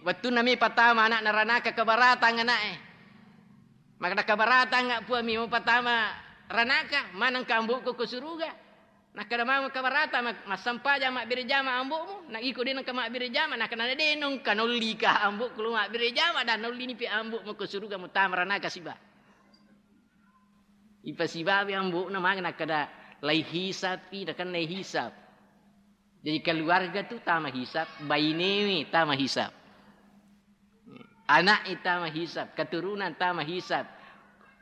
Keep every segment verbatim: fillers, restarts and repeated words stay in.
Wettunna mi patama ana'na ranaka, kabaratang ana'e. Makkeda, "Kabaratang, Puang, mi mupatama ranaka, manengka ambo'ku ko suruga." Nakkeda, "Mamo kabaratang, ma-, massempajang mabbere jama ambo'mu, na iko de nengka mabbere jama." Nakkeda, "De nengka nollika ambo'ku lo mabbere jama, dan nollini pi ambo'mu ko suruga mutama ranaka siba." Ipasibawi ambo'na mage nakkeda, "Laihisapi," nakenna hisab. Jadi keluarga tu tama hisab, bainewe tama hisab. Anak tama hisab, keturunan tama hisab.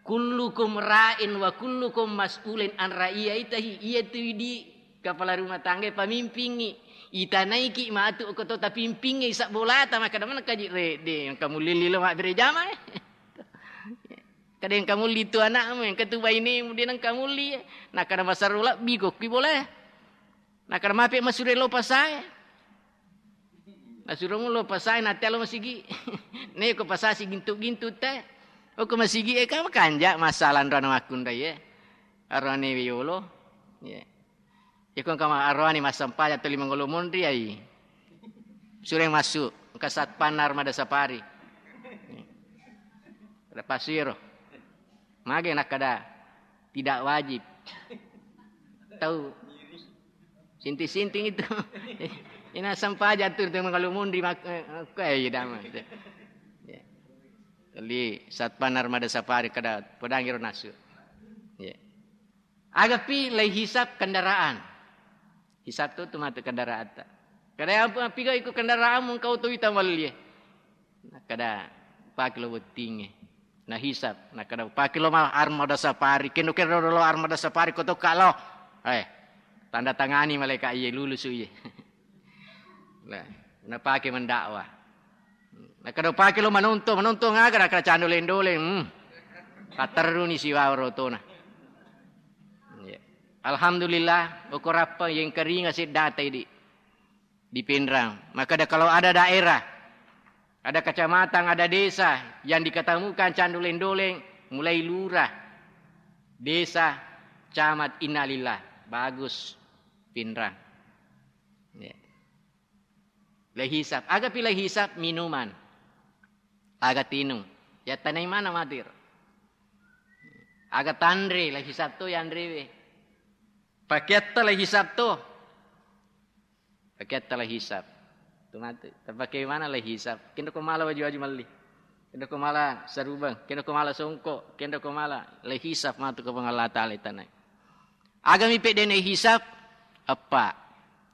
"Kullukum ra'in wa kullukum mas'ulin an ra'iyatihi." Iya tu di kepala rumah tangga pamimpingi. Itanaiki matu ko to tapimpingi isab bolata, makkeda, "Mana kaji re, de, engka mulli lilo mabbere jama, eh." Kada engka mulli tu anakmu, engka tu bainemu, de nengka mulli, eh. Nakkeda, "Masarro lebbi ko ki bola, eh." Nakkeda, "Mape masure lo pasae." Nasuro mulo pasae, natte lo masigi. Neko pasa sigintu-gintu te. Oko masigi e, kama kanja masalah anrana makkunrai e. Arane yolo. Ye. Iko kama arane massempajang tuli mangolo monri ai. Sureng masuk ke satpam Armada Safari. Ada pasiro. Mage nakkeda, "Tidak wajib." Tau sinting-sinting itu. Ina sempajang tu, tu mangalo monri mak-, eh, eh, iya, damai. Ya. Tuli satpam Armada Safari kada pedangi ro nasu. Ya. Agapi laihisab kendaraan. Hisab tu, tu matu kendaraan ta. Kada yang apa, piga iku kendaraan mengkau tu ita malie. Nakkeda, "Upake lo bottingnge." Nahisab, nakkeda, "Upake lo ma-, Armada Safari, kendo kero lo Armada Safari, ko tokka lo." Eh, tanda tangani malaika iye, lulusu iye. Nah, napake mendakwah. Nakkeda, "Upake lo manonto, manonto ngaga?" Nakkeda, "Candoleng-doleng." Hmm. Patterruni siwawa rotona. Iya. Alhamdulillah, okorappa yang keringa seddata idi. Di Pinrang. Makkeda, kalau ada daerah, ada kecamatan, ada desa yang diketemukan candoleng-doleng, mulai lurah, desa, camat, innalillah. Bagus, Pinrang. Ya. Laihisab. Agapi laihisab minuman. Aga tinung. Yattanai mana matir. Aga tanre, laihisab to yanrewe. Pakeatta laihisab to. Pakeatta laihisab. Tu matu. Tapake mana laihisab. Kendo ko mala waju-waju melli. Kendo ko mala sarubeng. Kendo ko mala songko. Kendo ko mala laihisab matu ko Puang Allah Ta'ala itanai. Agami pe de naihisab. Eppa.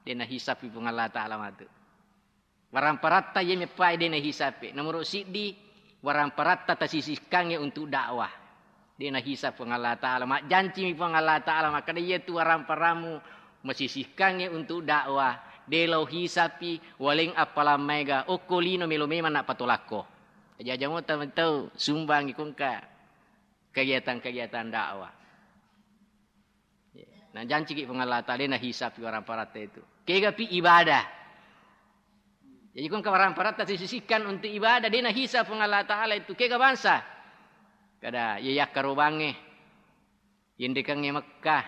De nahisab Puang Allah Ta'ala matu. Waramparatta iye meppae de nahisape. Nomoro siddi, waramparatta tasisihkangnge untuk dakwah. De nahisab Puang Allah Ta'ala. Majjancimi Puang Allah Ta'ala, makkeda, "Iyatu waramparammu masisihkangnge untuk dakwah. De lao hisapi, waleng appalang maega, okko lino melo memang nappatolakko." Aja-aja mo tau, tau sumbangi kongka kegiatan-kegiatan dakwah. Najanciki Puang Allah Ta'ala, de nahisapi waramparatta itu. Kegapi ibadah. Jadi, kong waramparatta sisihkan untuk ibadah, de nahisab Puang Allah Ta'ala itu. Kega bangsa. Kada, iya yakkarobangnge. Yenrekangnge Mekkah.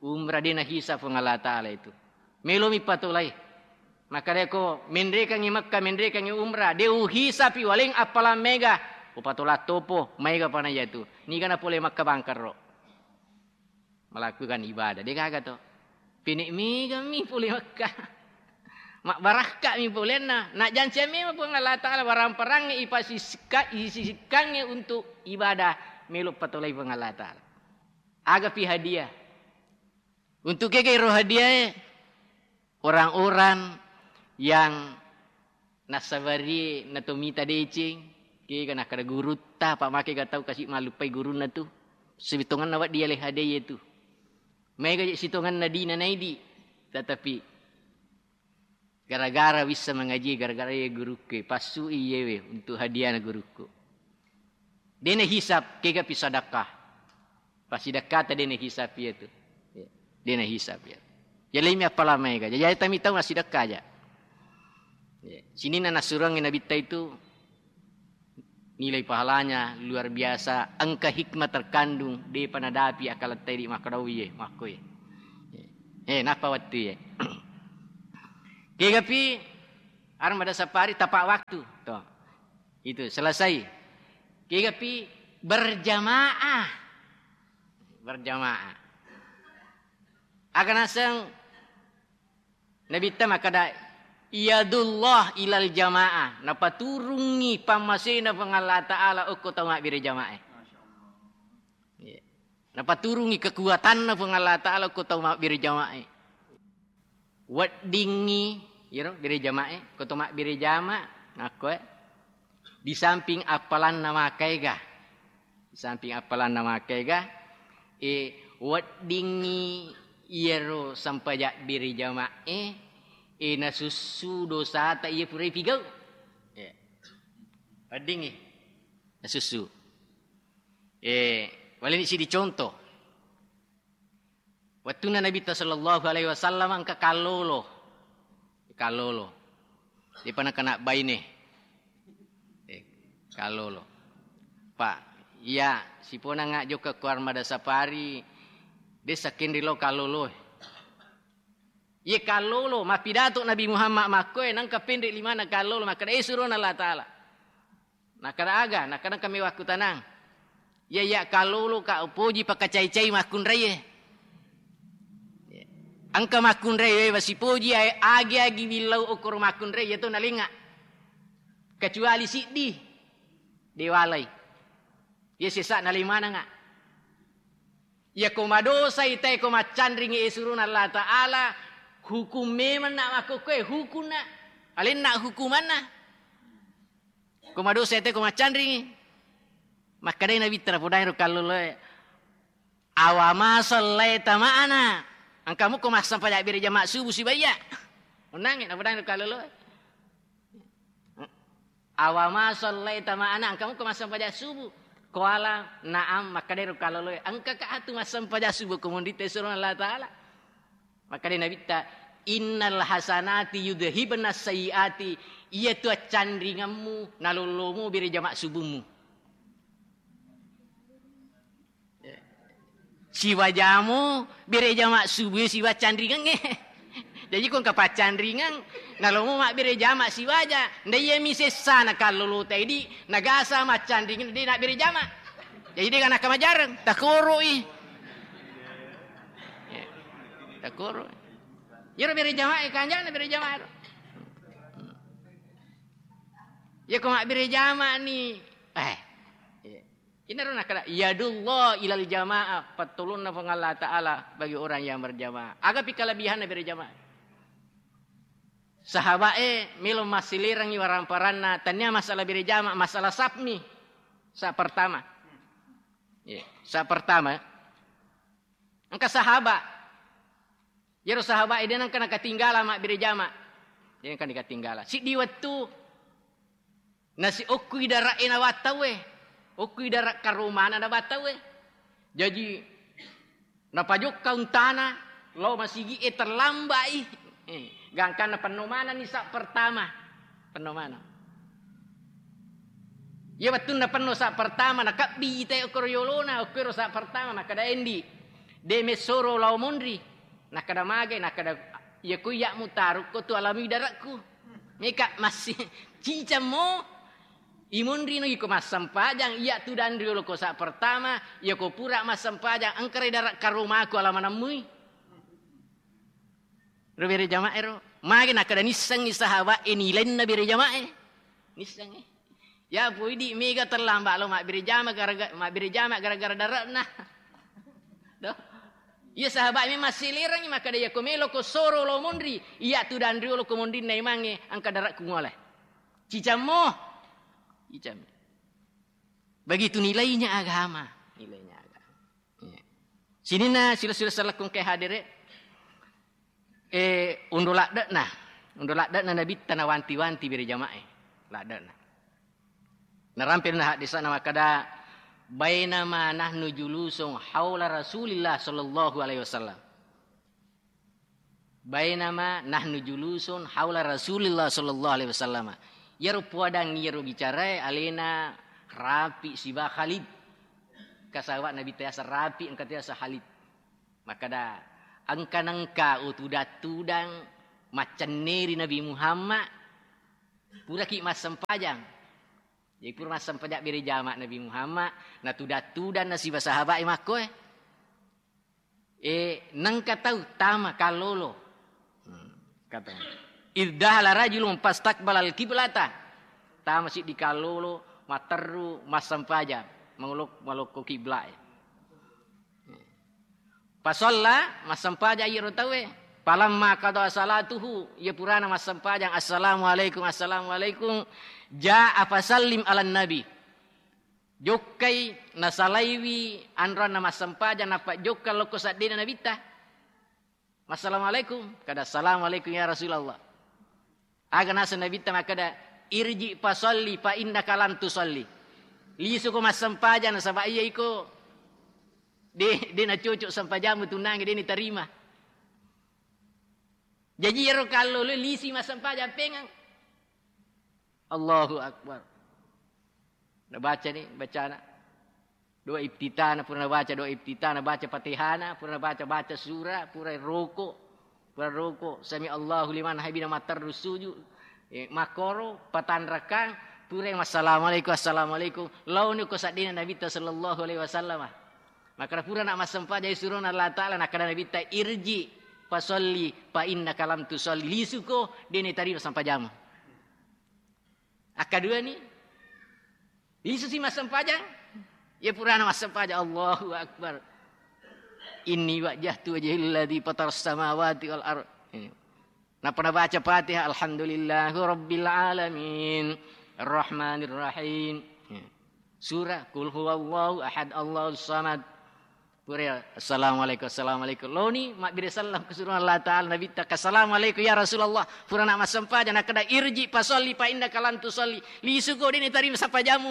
Umrah, de nahisab Puang Allah Ta'ala itu. Melomi patolai. Makkedako, menrekangngi Mekkah, menrekangngi umrah, de uhisapi waleng appalang maega, upatola topo, maega pana iyatu. Niga napole Mekkah bangkarro. Melakukan ibadah, de gaga to. Pene megami pole Mekkah. Mabbarakka mi polenna. Najjanciang memang Puang Allah Ta'ala, waramparangnge ipasisikka-, isisikkangnge untuk ibadah, melo patolai Puang Allah Ta'ala. Agapi hadiah. Untuk kega ero hadiae? Orang-orang yang nassabari natomita deceng, kega nakkeda gurutta, apa makega tau kasi mallupai gurunna tu. Sitongenna wedding yaleng hadiah tu. Maega je sitongenna dina naidi. Tetapi gara-gara wissa mangaji, gara-gara iye gurukku, passui iyewe untuk hadiahna gurukku. De nahisab, kegapi sadakah. Pasidakkata de nahisab iyatu. Ya. De nahisab iyatu. Yalemi appalang maega. Jaji tami tau massidakka aja. Ya. Sininna nassuruangngi Nabitta itu nilai pahalanya luar biasa, engka hikmah terkandung, depa nadapi akalatta idi makkedau iye, makkoe. Eh, nappa wettu iye. Kegapi Armada sapari tepat waktu. Tuh. Itu selesai. Kegapi berjamaah. Berjamaah. Aga naseng Nabitta makkeda, "Yadullah ilal jamaah." Napaturungngi pammasena Puang Allah Ta'ala okko tau mabbere jamaah. Iya. Napaturungngi kekuatanna Puang Allah Ta'ala ko tau mabbere jama'e. Weddingngi, iyaro bere jama'e, ko to mabbere jama', nakkoe, di samping appalanna makaega, di samping appalanna makaega, e, weddingngi iyaro sampaja bere jama'e, e, nasussu dosata iya purai pigau. E, weddingngi nasussu. Eh, waleni sidi contoh. Wettunna Nabitta sallallahu alaihi wasallam engka kallolo. Kallolo. Depa nakana baine. Eh, kallolo. Pak, iya, siponanga jokka ko Armada Safari, de sakkenri lo kallolo. Iye kallolo, mappidato Nabi Muhammad makkoe, nangka penre limana kallolo, makkeda, "Eh, surona Allah Ta'ala." Nakkeda aga, nakkeda kami wakkutanang. Iya, iya, kallolo ka upoji pakacai-cai makkunraie. Engka makkunrai we wasipoji, ae, agi-agi billau okoro makkunrai, iya to nalenga. Kecuali siddi, dewalai. Iya sesa nalemananga. Iya ko madosai tae ko maccanringi, e, suruna Allah Ta'ala, hukum memang na makkokkoe, hukumna. Alenna hukumanna. Ko madosai tae ko maccanringi. Makkedai Nabitta, napodairo kalloloe, "Awama sallaita ma'ana?" Engka muko massampaja bere jama subuh sibaya. Onnangnge, napodairo kalloloe. "Awama sallaita ma'ana?" Engka muko massampaja subuh. Qala, "Na'am," makkedai ro kalloloe, "Engka ka atu massampaja subuh ko monritta surona Allah Ta'ala?" Makkedai Nabitta, "Innal hasanati yudhibna sayyiati," iyatu accanringemmu nalollomo bere jama subuhmu. Siwajamo bere jama subuh siwa canringengnge. Jaji ko engka paccanringeng, nalomo mabbere jama siwaja. Nda iyami sessana kallolo taidi, nagasa maccanringeng de nabbere jama. Jaji de ganaka majareng, takoro'i. Ya, takoro'i. Iyaro bere jama e kanjana bere jama ro. Iya ko mabbere jama ni, eh, iya. Inaro nakkeda, "Yadullah ilal jamaah," pattolonna Puang Allah Ta'ala bagi orang yang berjamaah. Agapi kelebihanna bere jamaah? Sahaba'e melo massilerangi waramparanna, tania masalah bere jamaah, masalah sapmi. Sa pertama. Iya, sa pertama. Engka sahaba. Iyaro sahaba'e de nengka nakatinggala mabbere jama. De nengka nakatinggala. Siddi wettu Nasi okkui dara'e nawattauwe, okkui dara' karomana nawattauwe. Jaji, napajokka untana lao masigi'e terlamba'i. Eh, gangkanna penno manenni sa' pertama. Penno maneng. Iya wettunna penno sa' pertama, nakabbi ite okkoro yolona, okkuero sa' pertama, makkeda, "Endi, de messoro lao monri?" Nakkeda, "Mage?" Nakkeda, "Iya ko iya'mu tarukko tu alamui dare'ku." Meka massi-, cicammo, imonrino iko massempajang, iya tu danriolo ko sa' pertama, iya ko pura massempajang, engkarai dara' karomaku alamanemmui. Ro bere jama'e ro. Magi nakkeda nissengngi sahaba'e nilainna bere jama'e. Nissengngi. Ya, poidi mega terlambat lo mabbere jama gara-gara, mabbere jama gara-gara dare'na. Do. Iya sahabat memang silerangi, makkeda, "Iya ko melo ko soro lo monri, iya tu danriolo ko monrinna imangnge, engka dare'ku ngole." Cicammo. Cicammi. Begitu nilainya agama. Nilainya agama. Iya. Sininna sila-sila salakung ke hadere, eh, undo ladde'na. Undo ladde'na Nabitta nawanti-wanti bere jama'e. Ladde'na. Narampe na hadisana makkeda, "Bainama nahnu julusun haula Rasulillah sallallahu alaihi wasallam." Bainama nahnu julusun haula Rasulillah sallallahu alaihi wasallam. Iyaro puadang iyaro bicarae alena Rafi siba Khalid. Kasawa Nabi tayasa Rafi, engka tayasa Khalid. Makkeda, "Engka nengka utudang-tudang maccenneri Nabi Muhammad, Puraki massempajang. Jadi pura massempajang bere jama Nabi Muhammad, natuda-tudanna siba sahabae makkoe. E, nengka tau tama kallolo. Hmm, kata. Idz dakhala rajulun fastaqbalal qiblata. Tama siddi kallolo, matteru, massempajang. Mangolo-, malokko kiblae. Fasalla, massempajang iyaro tauwe. Falamma qada salatahu, iya purana massempajang, "Assalamualaikum, assalamualaikum." Jaa fasallim alan nabi. Jokkai nasalaiwi anroanna massempajang, nappa jokka lokko seddena nabitta. "Assalamualaikum." Kada, "Assalamualaikum ya Rasulullah." Aga naseng nabitta makkeda, "Irji fasalli fa innaka lam tusalli." Lisuko massempajang nasaba iya iko de, de nacocok sempajammu tunange de nitarima. Jaji iyaro kallolo lisi massempajang pengeng. Allahu Akbar. Nabaca ni bacana. Doa iftitahna, pura nabaca doa iftitahna, baca Fatihana, pura nabaca, baca sura, pura roko, pura roko, sami Allahu liman hamida, matteru suju, eh, makkoro, patanrakang, pura massalamualaikum, assalamualaikum, laoni ko seddena Nabitta sallallahu alaihi wasallam. Makkeda pura na massempajang surona Allah Ta'ala, nakkeda Nabitta, "Irji fasalli fa innaka lam tusalli." Lisuko, de nitarima sempajammu. Akkadua ni, lisusi massempajang. Iya purana massempajang, Allahu Akbar. "Inni wajjahtu wajhiya lilladzi fataras samawati wal ard." Ini. Nappa nabaca Fatihah, "Alhamdulillahi rabbil alamin, arrahmanir rahim." Ini. Surah, "Qul huwallahu ahad, Allahus samad." Pura, "Assalamualaikum, assalamualaikum." Loni, mabbere sallam kesuruhan Allah Ta'ala, Nabitta, "Assalamualaikum ya Rasulullah." Purana massempajang, nakkeda, "Irji fasalli fa innaka lam tusalli." Lisuko, de nitarima sempajammu.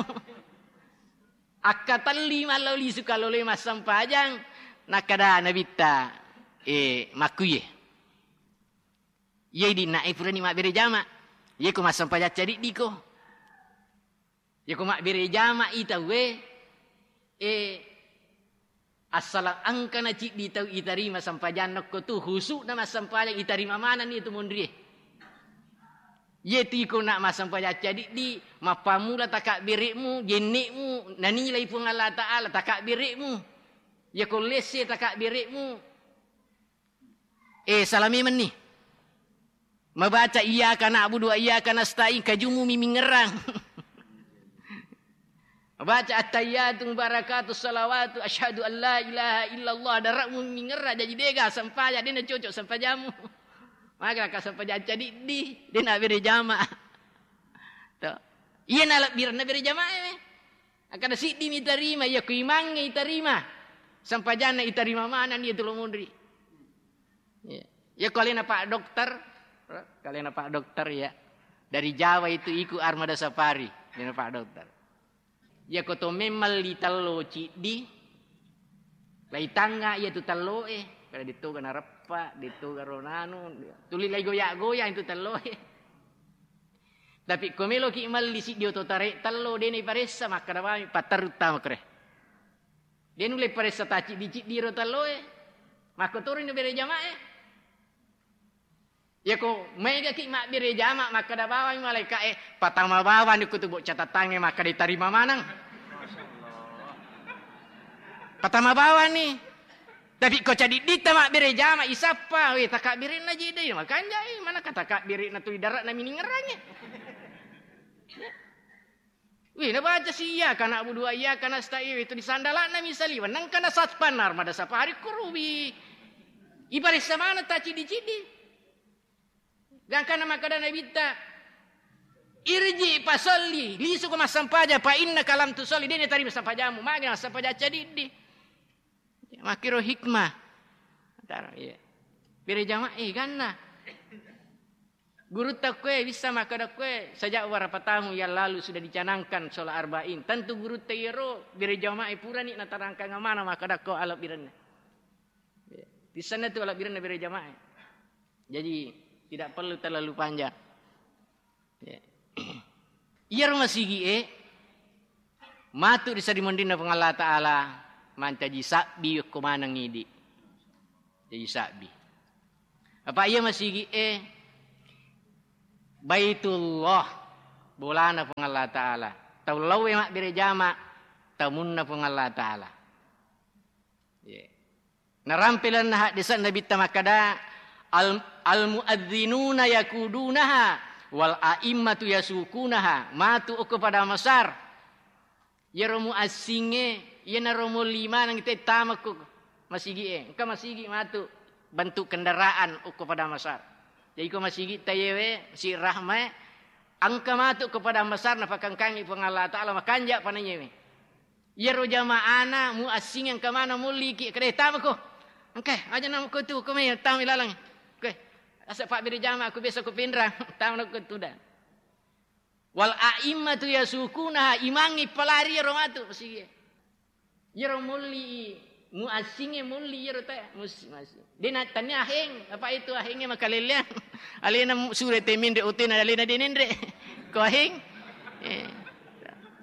Akkatelli mallau lisu kallolo massempajang, nakkeda Nabitta, eh, makkuye. Iye dinna e purani mabbere jama. Iye ko massempajang cadiddiko. Yako mabbere jama'i tauwe, e, assalang engkana ciddi tau itarima sempajanna ko tu, husu'na massempajang itarima manenni tu monrie. Iye tu iko na massempajang cadiddi, mappammula takabbere'mu, jenne'mu, nanilai Puang Allah Ta'ala takabbere'mu. Yako lesse takabbere'mu, Eh, salami menni. Mabaca iyyaka na'budu wa iyyaka nasta'in, kajumu mi mingerang. Mabaca at-tahiyyatu mubarakatu salawatu asyhadu an la ilaha illallah, dare'mu mingerang, jaji dega sempajang, dena cocok sempajamu. Maka ka sempajang cadiddi, dena bere jama. To. Iya nalebbirenna bere jamae. Akkada siddi mi tarima, iya ku imangnge itarima. Sempajanna itarima maneng iya tu lo monri. Iya. Iya ko alena Pak Dokter, ko alena Pak Dokter ya. Dari Jawa itu iku Armada Safari, alena Pak Dokter. Iya ko to memang li tello ciddi, lai tangnga iya tu tello e, pada dittoga nareppa, dittoga ronanu, tuli lai goya-goya itu tello e. Tapi ko meloki malli siddi oto tare tello, dena iparessa, makkada bawang patterru tama kere. De nulle paressa taciddi-ciddi ro telloe. Makkotoro ni bere jamae. Yako maegaki mabbere jama, makkada bawang malaika'e, patama bawang ni kutu bocca tatangnge, makkada tarima maneng. Patama bawang ni. Tapi ko cadidditta mabbere jama, isappa, we, takabbere'na jedai, makanjai, mana ka takabbere'na tu idare'na miningerangnge. Wih, nabaca si iyyaka na'budu wa iyyaka nasta'in, itu di sandala'na misali, wennengka na satpan Armada Safari kurubi. Ibaressa maneng taciddi-ciddi. Gangkana makkada Nabitta, "Irji fasalli, lisuko massampaja, fa innaka lam tusalli, dena tarima sampajamu, magi massampaja cadiddi." Makkiro hikmah. Taro, iya. Bere jamaah, eh, ganna. Gurutta kue bisa makkada kue, sejak beberapa tahun yang lalu sudah dicanangkan sholat arba'in. Tentu gurutta iyaro bere jamaah purani natarangkang mana makkada ko alabbirenna. Iya. Tissenna tu alabbirenna bere jamaah. Jadi tidak perlu terlalu panjang. Ya. Iyaro masigi'e matu ri sarimunrinna Puang Allah Ta'ala mancaji sabbi ko maneng idi. Jaji sabbi. Apa iya masigi'e, eh, Baitullah. Bolana Puang Allah Ta'ala. Tau laowe mabbere jama, tamunna Puang Allah Ta'ala. Ye. Narampe lalenna haddese'na Nabitta makkada, "Al-, al-muadzinuna yaqudunaha wal a'immatu yasukunaha." Matu okko Padang Besar. Iyaro muassingnge, iyanaro molli maneng te tama ko masigi'e. Engka masigi matu bentuk kendaraan okko Padang Besar. Jadi ko masigi tayewe, si rahmae, engka matu ko Padang Besar napakangkangi Puang Allah Ta'ala, makanja panayewe. Iyaro jama'ana muassingnge engka mana molliki, kede tama ko. Engka, aja namo ko tu, ko mai tama ilalang. Oke. Asa pabbere jama ko biasa ko Pinrang, tama ko tu da. Wal a'immatu yasukunaha, imangnge palari iyaro matu masigi'e. Iyaro molli muassingnge molli iyaro ta mus-, mas-, de na tania aheng, apa itu ahengnge makalelleang. Alena mu-, sure te minre otena alena de nenre. Ko aheng. Eh.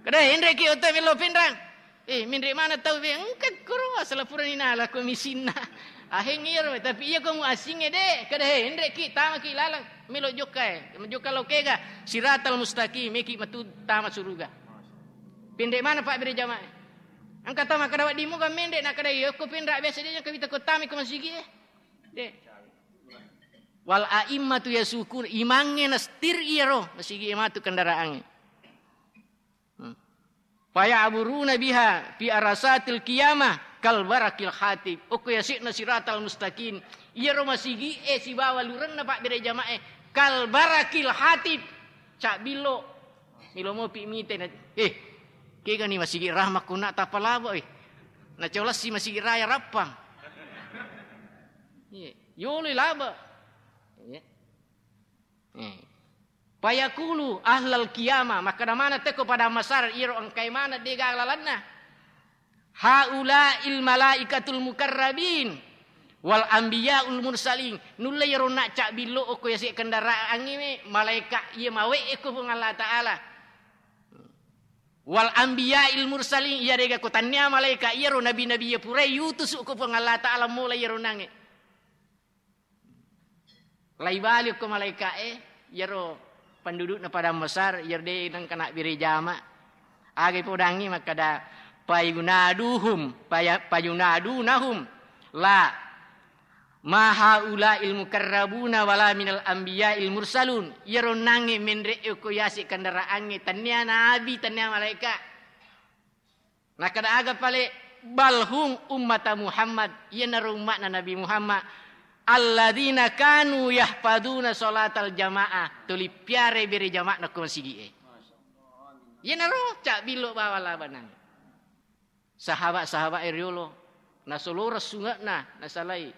Kada henre ki oto melo Pinrang. Eh, minre mana tau be engka koro asala purani nala ko misinna. Aheng iyaro, tapi iya ko muassingnge de, kada henre ki tama ki lalang melo jokka e. Jokka lo kega siratal mustaqim, meki matu tama suruga. Pinre mana pabbere jamae. Engka tama kada wedding muga menre na kada iya ko Pinrang biasa de kawita ko tama ko masigi e. De. Wal a'immatu yasukun, imangnge nastir iyaro masigi e matu kendaraangnge. Hmm. Fayaburuna biha fi arasatil qiyamah kal barakil hatib. Okko yase'na siratal mustaqim. Iyaro masigi'e sibawa lurenna pabbere jama'e kal barakil hatib. Cabbillo. Milo mopi mite na, eh, kegani masigi rahma kuna tapalabo, eh. Nacolasi masigi raya rappang. Iya, yolo laba. Iya. Eh. Fayaqulu ahlal qiyamah, makkeda maneng tekko pada masar iyaro engkae maneng de gaga lalenna. Haula'il malaikatul mukarrabin wal anbiya'ul mursalin. Nulle iyaro na cabbillo okko yase kendaraangnge malaika iya mawe'e ko Puang Allah Ta'ala. Wal anbiya'il mursalin, iyarega ko tannia malaika iyaro nabi-nabi iya purai yutusu ko Puang Allah Ta'ala mola iyaro nange. Lai bali okko malaika'e, iyaro pendudukna padang besar, iyaro de nengka nabbere jama. Aga ipodangngi makkeda, "Fayunaduhum, faya-, fayunadunahum, la, ma haula'il mukarrabuna wala minal anbiya'il mursalun." Iyaro nangnge menre'e okko yase kendaraangnge, tennia nabi, tennia malaika. Nakkeda aga pale, "Bal hum ummata Muhammad," iyanaro umma'na Nabi Muhammad, "alladzina kanu yahfadzuna sholatal jamaah," tuli piare bere jama'na ko masigi'e. Iyanaro cabbillo bawang labanang. Sahabat-sahabat e riolo, nasoloreng sunge'na, nasalai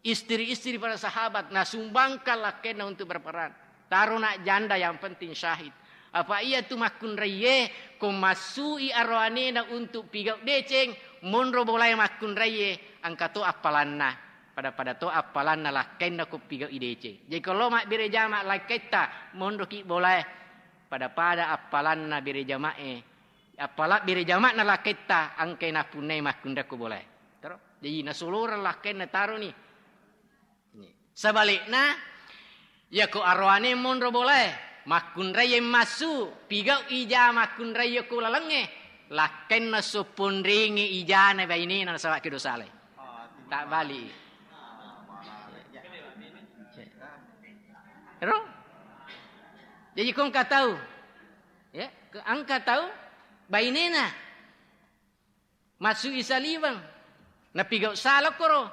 istri-istri para sahabat, nasumbangkan lakkainna untuk berperang. Tarona janda, yang penting syahid. Apa iya tu makkunraiye, ko massui aroanena untuk pigau deceng, monro bolae makkunraiye, engka to appalanna. Pada-pada to appalanna lakkainna ko pigau i deceng. Jadi ko lo mabbere jama lakkaitta, monroki bolae, pada-pada appalanna bere jamae. Appala bere jama'na lakkaitta, engkai nappunnai makkunrai ko bolae. Taro? Jadi nasoloreng lakkainna taroni. Sebalikna, yako aroane monro bolae, makkunrai massu, pigau ija makkunrai ko lalengnge, lakkainna sopponringe ijana bainena nasaba kedo salai. Tak bali. Ero? Jadi ko engka tau, ya, ke-, engka tau bainena massu i saliweng, napigau sala koro,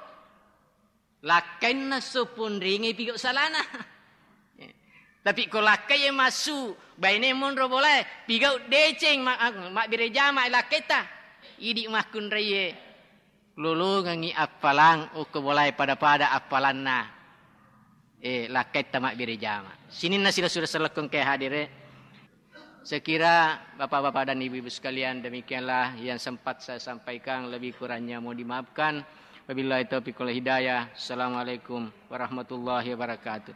lakkainna sopponringe pigau salana. Tapi ko lakkai e massu, baine monro bolae, pigau deceng ma-, mabbere jama lakkaitta, idi makkunrai e. Lolongengngi appalang okko bolae pada-pada appalanna, eh, lakkaitta mabbere jama. Sininna sila-sila sellekkong ke hadire. Sekira bapak-bapak dan ibu-ibu sekalian, demikianlah yang sempat saya sampaikan, lebih kurangnya mohon dimaafkan. Wabillahi taufiq wal hidayah. Assalamualaikum warahmatullahi wabarakatuh.